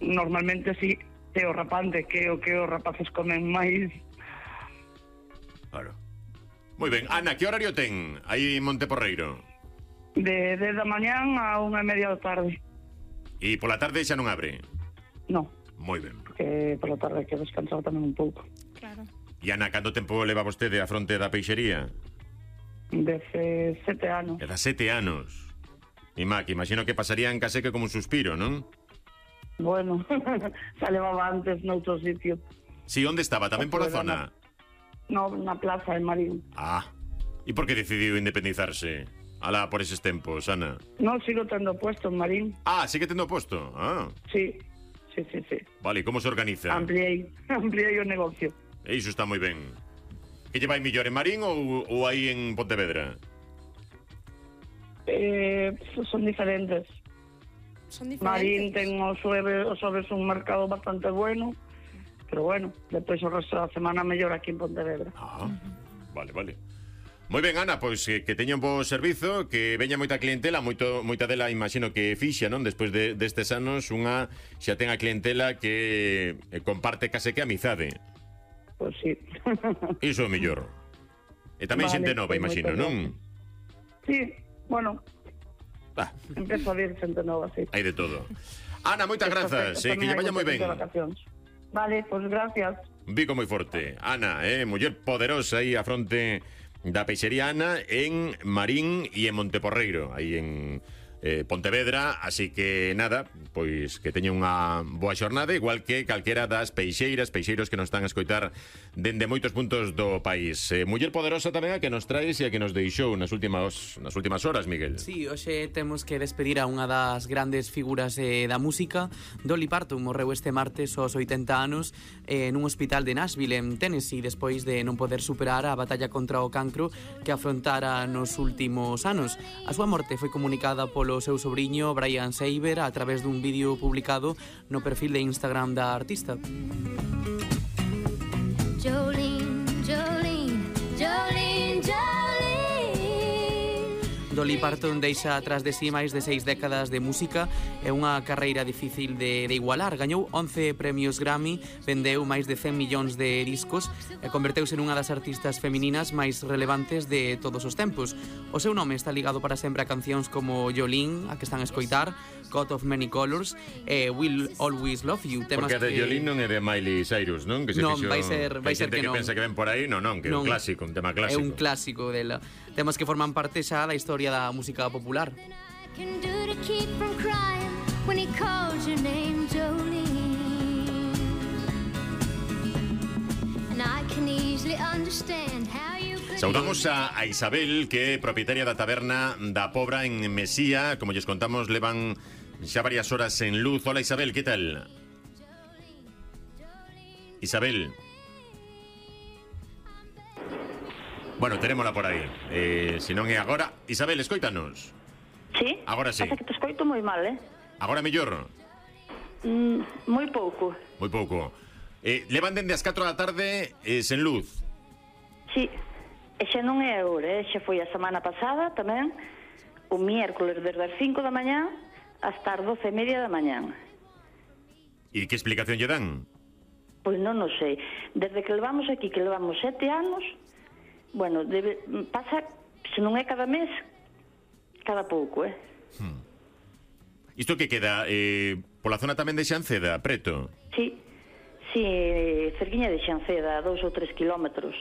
normalmente sí, é o rapante, que o que os rapaces comen máis. Claro. Moi ben, Ana, que horario ten aí en Monteporreiro? De 10 da mañán a 1:30 da tarde. E pola tarde xa non abre? No, Moi ben. porque pola tarde hai que descansar tamén un pouco. Claro. E Ana, canto tempo leva vostede a fronte da peixería? Desde 7 anos. Leva 7 anos. E Mac, imagino que pasarían case que como un suspiro, non? Bueno, xa levaba antes noutro sitio. Si, onde estaba? Tamén pola zona? No, na plaza de Marín. Ah, e por que decidiu independizarse? Alá, por eses tempos, Ana. No, sigo tendo puesto en Marín. Ah, sigue tendo posto? Ah. Sí. Vale, como se organiza? Ampliei o negocio. E iso está moi ben. Que lle vai mellor en Marín ou aí en Pontevedra? Son diferentes. Son diferentes. Marín ten os xoves un mercado bastante bueno, pero bueno, depois o resto da semana mellor aquí en Pontevedra. Ah, vale. Moi ben, Ana, pois que teña un bo servizo, que veña moita clientela, moita dela imagino que fixa, non? Despois destes anos, unha xa ten a clientela que comparte case que amizade. Pois sí. Iso é o mellor. E tamén xente nova, imagino, non? Sí, bueno, empezo a vir xente nova, sí. Hai de todo. Ana, moitas grazas, que lle vaya moi ben. Vale, pois gracias. Un bico moi forte. Ana, muller poderosa aí a fronte da peixería Ana en Marín e en Monteporreiro, aí en Pontevedra, así que nada, pois que teña unha boa xornada, igual que calquera das peixeiros que nos están a escoitar dende moitos puntos do país. Muller poderosa tamén a que nos traes e a que nos deixou nas últimas horas, Miguel. Sí, hoxe temos que despedir a unha das grandes figuras da música. Dolly Parton morreu este martes aos 80 anos nun hospital de Nashville, en Tennessee, despois de non poder superar a batalla contra o cancro que afrontara nos últimos anos. A súa morte foi comunicada polo seu sobriño Brian Seiber a través dun vídeo publicado no perfil de Instagram da artista. Jolene, Jolene, Jolene, Jolene. Dolly Parton deixa atrás de si máis de 6 décadas de música e unha carreira difícil de igualar. Gañou 11 premios Grammy, vendeu máis de 100 millóns de discos e converteuse nunha das artistas femininas máis relevantes de todos os tempos. O seu nome está ligado para sempre a cancións como Jolene, a que están a escoitar, Coat of Many Colors e Will Always Love You. Porque a de Jolene non é de Miley Cyrus, non? Que se non, fixo... vai ser que non. Que pensa que ven por aí, non, que é un clásico, un tema clásico. É un clásico dela. Temas que forman parte xa da historia da música popular. Saudamos a Isabel, que é propietaria da taberna da Pobra en Mesía. Como lles contamos, levan xa varias horas en luz. Hola Isabel, que tal? Isabel. Bueno, tenémola por aí. Se non é agora. Isabel, escoítanos. Sí? Agora sí. Pasa que te escoito moi mal, Agora mellor? Moi pouco. Moi pouco. Levan dende as 4 da tarde sen luz. Sí. E xa non é agora, xa foi a semana pasada tamén, o miércoles desde as 5 da mañá hasta as 12:30 da mañá. E que explicación lle dan? Pois non o sei. Desde que levamos aquí, que levamos 7 anos, bueno, pasa, se non é cada mes, cada pouco, Isto que queda pola zona tamén de Xanceda, preto? Sí, cerquiña de Xanceda, a 2 ou 3 kilómetros,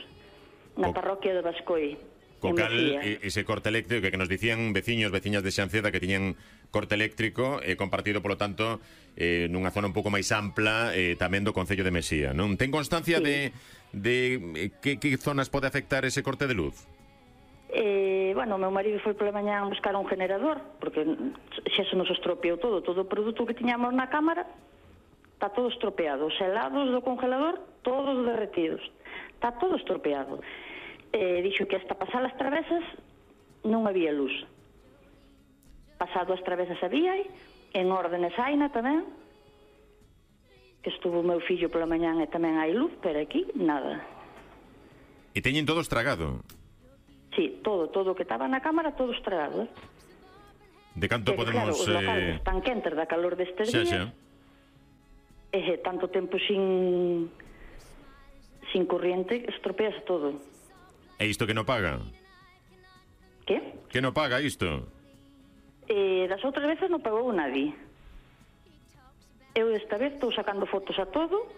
na parroquia de Bascoi. Co cal, ese corte eléctrico que nos dicían veciñas de Xanceda que tiñan corte eléctrico compartido, polo tanto, nunha zona un pouco máis ampla tamén do Concello de Mesía, non? Ten constancia de que zonas pode afectar ese corte de luz? Bueno, o meu marido foi pola mañá a buscar un generador, porque xa se nos estropeou todo o produto que tiñamos na cámara está todo estropeado, os helados do congelador todos derretidos, está todo estropeado. Dixo que hasta pasar as travesas non había luz. Pasado as travesas había, en órdenes haina tamén, que estuvo o meu fillo pola mañán e tamén hai luz, pero aquí nada. E teñen todo estragado? Sí, todo o que estaba na cámara, todo estragado. De canto podemos... Claro, os locales están quentes da calor destes días. tanto tempo sin corriente, estropeas todo. E isto que non paga? Que? Que non paga isto? Das outras veces non pagou nadie. Eu esta vez estou sacando fotos a todo.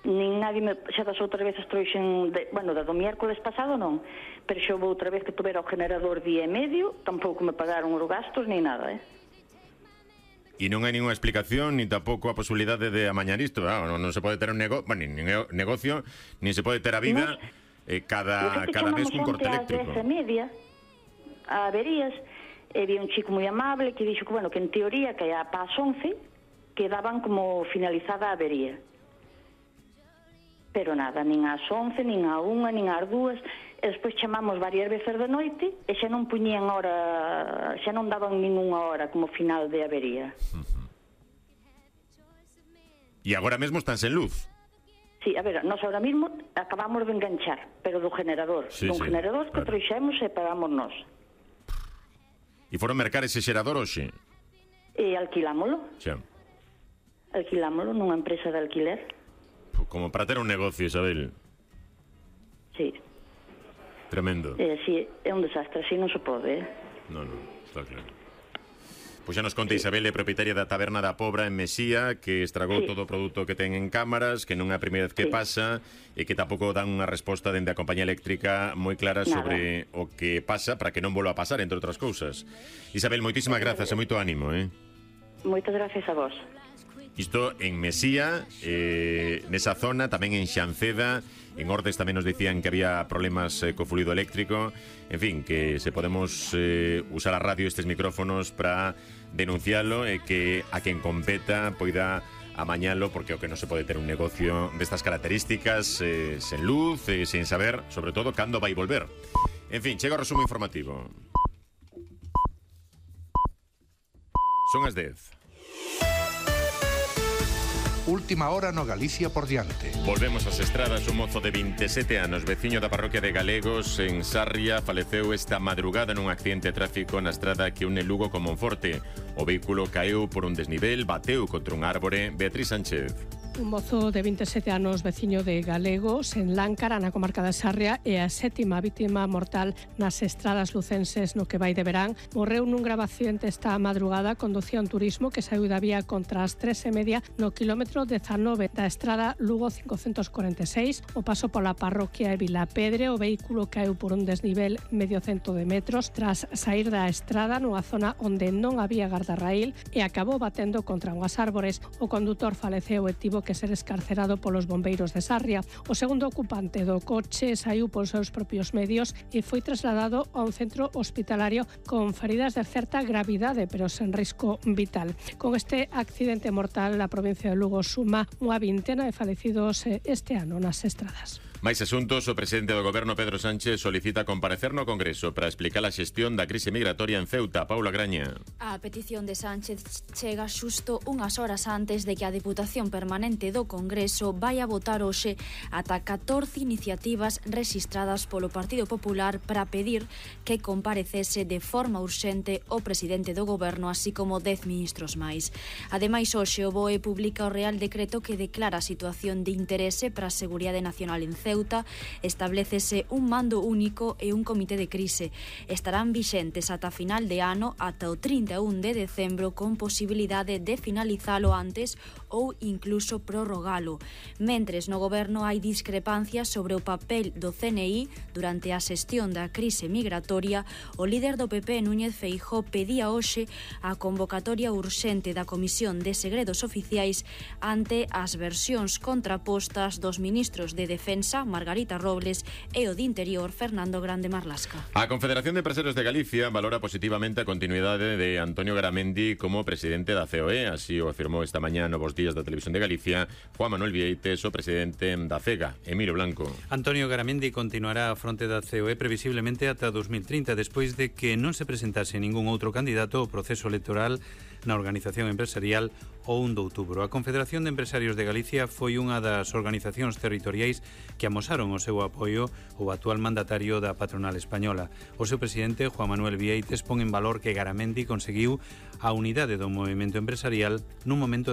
Nin nadie xa das outras veces trouxen, da do miércoles pasado non, pero xa houve outra vez que tuvera o generador día e medio, tampouco me pagaron os gastos ni nada, E non hai ninguna explicación, ni tampouco a posibilidade de amañar isto. Non se pode ter un negocio, nin se pode ter a vida cada mes cun corte eléctrico. Ás 10:30 a averías, e vi un chico moi amable que dixo que, que en teoría que a pas 11 quedaban como finalizada a avería. Pero nada, nin ás 11, nin á 1, nin ás 2, e despois chamamos varias veces de noite e xa non puñían hora, xa non daban ninguna hora como final de avería. E agora mesmo están sen luz? Sí, a ver, nós ahora mismo acabamos de enganchar, pero do generador. Generador que trouxemos e pagamos nós. E foron mercar ese xerador hoxe? E alquilámolo. Xa. Alquilámolo nunha empresa de alquiler. Como para ter un negocio, Isabel. Sí. Tremendo. Sí, é un desastre, así non se pode, Non, está claro. Pois xa nos conta Isabel, é propietaria da taberna da Pobra en Mesía, que estragou todo o produto que ten en cámaras, que non é a primeira vez que pasa, e que tampouco dan unha resposta dende a compañía eléctrica moi clara sobre o que pasa, para que non volva a pasar, entre outras cousas. Isabel, moitísimas grazas e moito ánimo, Moitas gracias a vos. Isto en Mesía, nesa zona, tamén en Xanceda, en Ordes tamén nos dicían que había problemas co fluido eléctrico. En fin, que se podemos usar a radio estes micrófonos para denuncialo e que a quen competa poida amañalo, porque o que non se pode ter un negocio destas características sen luz, sen saber, sobre todo, cando vai volver. En fin, chega o resumo informativo. Son as 10. Última hora no Galicia por diante. Volvemos ás estradas. Un mozo de 27 anos, veciño da parroquia de Galegos en Sarria, faleceu esta madrugada nun accidente de tráfico na estrada que une Lugo con Monforte. O vehículo caeu por un desnivel, bateu contra un árbore. Beatriz Sánchez. Un mozo de 27 anos, veciño de Galegos, en Láncara, na comarca da Sarria, e a 7ª vítima mortal nas estradas lucenses no que vai de verán. Morreu nun grave accidente esta madrugada, conducía un turismo que saiu da vía contra as 3:30 no quilómetro 19 da estrada Lugo 546, o paso pola parroquia de Vilapedre. O vehículo caeu por un desnivel medio cento de metros tras sair da estrada nunha zona onde non había gardarraíl e acabou batendo contra unhas árbores. O condutor faleceu e tivo que ser escarcerado polos bombeiros de Sarria. O segundo ocupante do coche saiu polos seus propios medios e foi trasladado a un centro hospitalario con feridas de certa gravidade, pero sen risco vital. Con este accidente mortal, a provincia de Lugo suma unha vintena de falecidos este ano nas estradas. Máis asuntos. O presidente do Goberno, Pedro Sánchez, solicita comparecer no Congreso para explicar a xestión da crise migratoria en Ceuta. Paula Graña. A petición de Sánchez chega xusto unhas horas antes de que a Deputación Permanente do Congreso vai a votar hoxe ata 14 iniciativas rexistradas polo Partido Popular para pedir que comparecese de forma urxente o presidente do Goberno, así como 10 ministros máis. Ademais, hoxe o BOE publica o Real Decreto que declara a situación de interese para a seguridade nacional en Ceuta. Establécese un mando único e un comité de crise. Estarán vixentes ata final de ano, ata o 31 de decembro, con posibilidade de finalizalo antes ou incluso prorrogalo. Mentres no Goberno hai discrepancias sobre o papel do CNI durante a xestión da crise migratoria, o líder do PP, Núñez Feijóo, pedía hoxe a convocatoria urxente da Comisión de Segredos Oficiais ante as versións contrapostas dos ministros de Defensa, Margarita Robles, e o de Interior, Fernando Grande Marlasca. A Confederación de Empresarios de Galicia valora positivamente a continuidade de Antonio Garamendi como presidente da COE. Así o afirmou esta mañá Novos Días da Televisión de Galicia Juan Manuel Vieites, o presidente da CEGA, Emilio Blanco. Antonio Garamendi continuará a fronte da COE previsiblemente ata 2030, despois de que non se presentase ningún outro candidato ao proceso electoral na organización empresarial o 1 de outubro. A Confederación de Empresarios de Galicia foi unha das organizacións territoriais que amosaron o seu apoio ao actual mandatario da patronal española. O seu presidente, Juan Manuel Vieites, pon en valor que Garamendi conseguiu a unidade do movimento empresarial nun momento